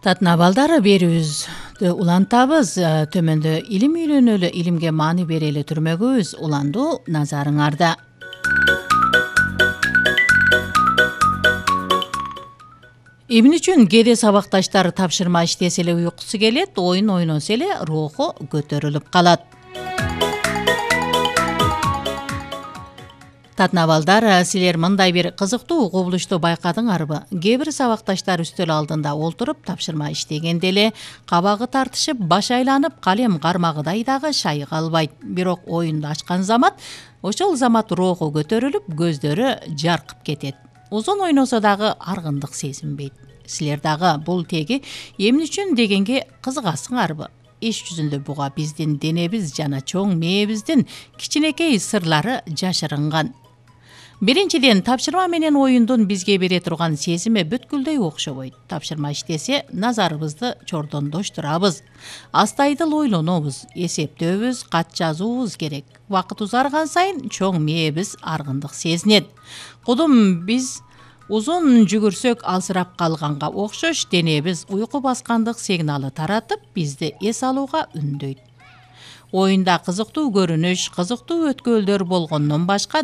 Татына балдар берүүбүздү улантабыз. Төмөндө илим үйрөнөлү, илимге маани берели түрмөгүбүз уландуу назарыңарда. Эмне үчүн кээде сабакташтар тапшырма иштесе эле уйкусу келет, оюн ойносо эле руху көтөрүлүп калат. Татына балдар, силер мындай бир кызыктуу кубулушту байкадыңарбы? Кээ бир сабакташтар үстөл алдында олтуруп тапшырма иштегенде эле кабагы тартышып, баш айланып, калем кармагыдай дагы шайыга албайт. Бирок оюнду ачкан замат, ошол замат руху көтөрүлүп, көздөрү жаркып кетет. Узун ойносо дагы аргындык сезинбейт. Силер дагы бул теги эмне үчүн дегенге кызыгасыңарбы? Иш жүзүндө буга биздин денебиз жана чоң мээбиздин кичинекей сырлары жашырынган. Биринчиден, тапшырма менен оюндун бизге бере турган сезими бүткүлдөй окшобойт. Тапшырма иштесе, назарыбызды чордондоштурабыз. Астайдыл ойлонобуз, эсептөөбүз, кат жазуубуз керек. Убакыт узарган сайын чоң мээбиз аргындык сезинет. Кудум биз узун жүгүрсөк алсырап калганга окшош, денебиз уйку баскандык сигналы таратып, бизди эс алууга үндөйт. Оюнда кызыктуу көрүнүш, кызыктуу өткөлдөр болгондон башка